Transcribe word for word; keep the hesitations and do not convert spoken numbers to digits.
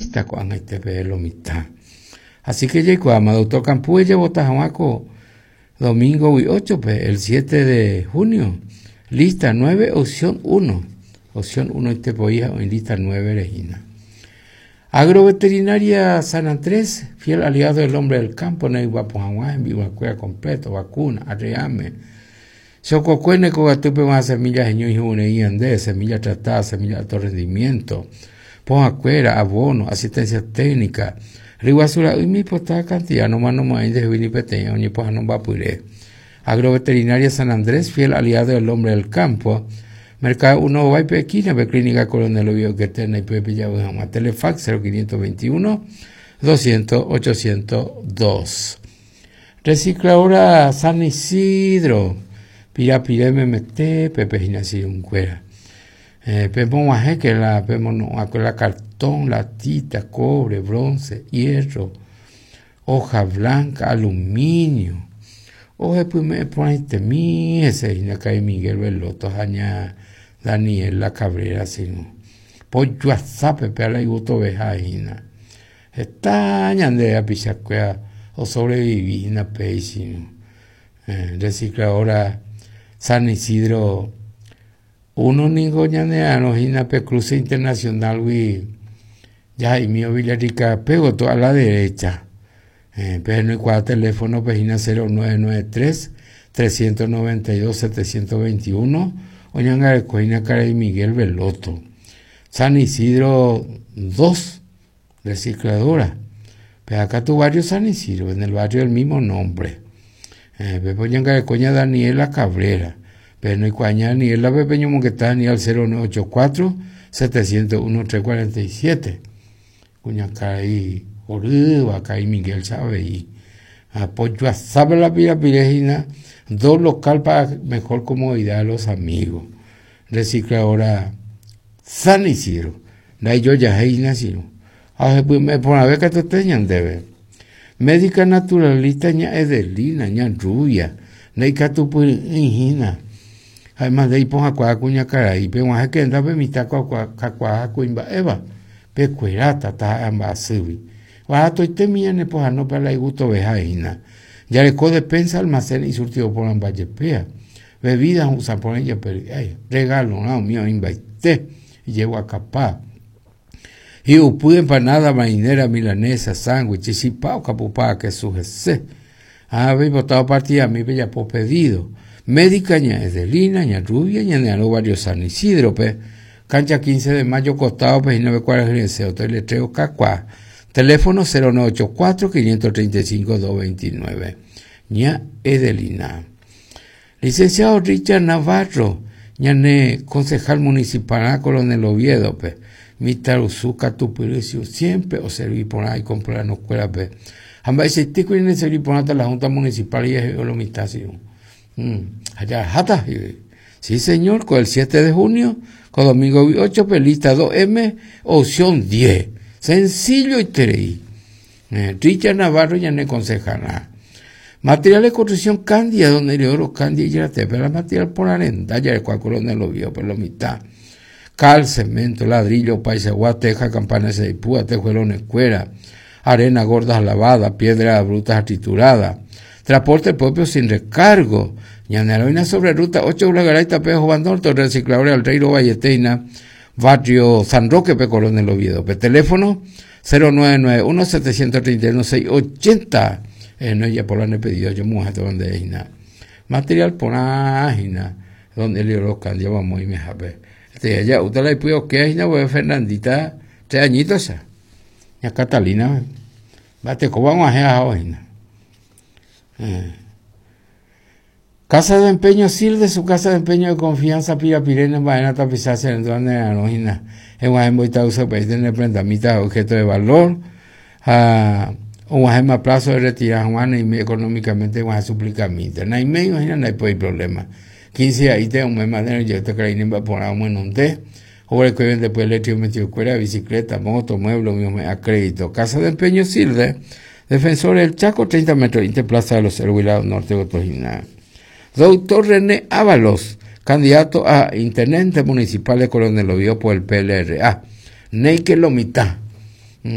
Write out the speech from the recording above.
Lista con este lo mitad. Así que llegó a doctor Campú, ella vota Juaco domingo ocho, el siete de junio. Lista nueve, opción uno. Opción uno, este poía en lista nueve, Regina. Agroveterinaria San Andrés, fiel aliado del hombre del campo, no hay en vivo completo, vacuna, arreame. Sococuene, cogatupe, más semillas, y andé, semilla tratada, semilla de alto rendimiento. Pojacuera, abono, asistencia técnica. Riguazura, y mi postada cantidad, no más no más de Winnie ni poja no va puré. Agroveterinaria San Andrés, fiel aliado del hombre del campo. Mercado uno va y Pequina, Clínica Coronel Oviedo que tiene y Pepe ya Telefax cero quinientos veintiuno doscientos ochocientos dos. Recicladora San Isidro, Pira Pira M M T, Pepe Ginacio un cuera. Eh, Pepo Maje, que la Pepo no, la cartón, latita, cobre, bronce, hierro, hoja blanca, aluminio. Oje, pues me pone este mi, ese y Miguel Veloto, Jaña Daniel La Cabrera, sino. Pollo azape, pe la gusto vejaina. Está ñande a pichacuea o sobrevivina, pe, sino. Eh, recicladora San Isidro. Uno ningo ñaneano, jina pe cruce internacional, wi, ya y mío Villarrica, pego toda la derecha. Eh, pero no hay cuatro teléfono, página cero nueve nueve tres, trescientos noventa y dos, setecientos veintiuno, Oñanga Coina Cara y Miguel Veloto. San Isidro dos, recicladora. Pero acá tu barrio San Isidro, en el barrio del mismo nombre. Eh, Pepe Oñanga de Coña Daniela Cabrera. Pero no hay cuaña Daniela Pepe Ñomoquetá, ni al cero nueve ocho cuatro, setecientos uno, tres cuarenta y siete. Cuña Cara y Orúa, acá y Miguel sabe y apoyo a sabe la pira pirejina, dos local para mejor comodidad de los amigos. Recicladora San Isidro, la yo ya he nacido. Ah, pues me pone a ver que te teñan debe. Médica naturalista ña Edelina, ña Rubia, neica tu purijina. Además de ahí ponja cuaja cuña cara y pe guaje que enda pe mitad cua cua cuimba eva, pe cuerata ta amba subi. Barato y temía ne poja no para la gusto vejaina. Ya le despensa almacén y surtido por ambayepea. Bebidas usan por ella, pero ay, regalo, no, mío, invaité. Y llevo a capá. Y upude empanada marinera, milanesa, sándwich, y pao, capupá, que sujese. Ah, ve botado partida a mí, bella po pedido. Médica, ña Edelina, ña Rubia, ña Neano, barrio San Isidro, pe. Cancha quince de mayo, costado, pe, y nueve cuadras, gerencia, hotel, letreo, cacuá. Teléfono cero nueve ocho cuatro, quinientos treinta y cinco, doscientos veintinueve. Ña Edelina. Licenciado Richard Navarro, ñane concejal municipal a Coronel Oviedo, pe. Mitaruzuca, Tupiricio, siempre o serví por ahí, comprar no escuela, pe. Amba ese tico y serví por hasta la Junta Municipal y es lo mitad, sí. Mm. Allá, jata, sí. Sí, señor, con el siete de junio, con domingo ocho, pe, lista dos M, opción diez. Sencillo y tres. Eh, Richard Navarro ya no aconseja nada. Material de construcción Candia, donde el oro Candia y ya te pero material por arenda, ya el cual coronel lo vio por la mitad. Cal, cemento, ladrillo, paisa, teja, campana, seipúa, tejuelones, cuera, arena gordas lavada, piedra brutas triturada, transporte propio sin recargo. Ñaneroina sobre ruta ocho, Ulagaray, Pejo, Bandorto, recicladores al Reiro Valleteina, barrio San Roque, P. Coronel Oviedo. P. Teléfono cero nueve nueve uno, setecientos treinta y uno, seis ochenta. Eh, no, ya por la he pedido yo mujer donde es na. Material por ágina, donde el oro candia vamos y me jape. Este ya usted la pudo que es na voy Fernandita, tres añitos esa. Ya Catalina, bate como vamos a hacer eh. Casa de empeño Silde, su casa de empeño de confianza, Pira Pirena, vaina tapizarse en donde la nojina. En Guajemboita usa país tener prendamita, objeto de valor. Ah, un guajema plazo de retirar Juana y me, económicamente guaje suplicamita. No hay medio, no hay pues problema. quince ahí te un mes más de yo te creí ni va a poner un buen té. O el que vende después eléctrico metido cuera, bicicleta, moto, mueble, mío, a crédito. Casa de empeño Silde, defensor del Chaco, treinta metros, Interplaza de los Héroes, Norte de Otojina. Doctor René Ábalos, candidato a intendente municipal de Coronel Oviedo por el P L R A. Neike lo mitad.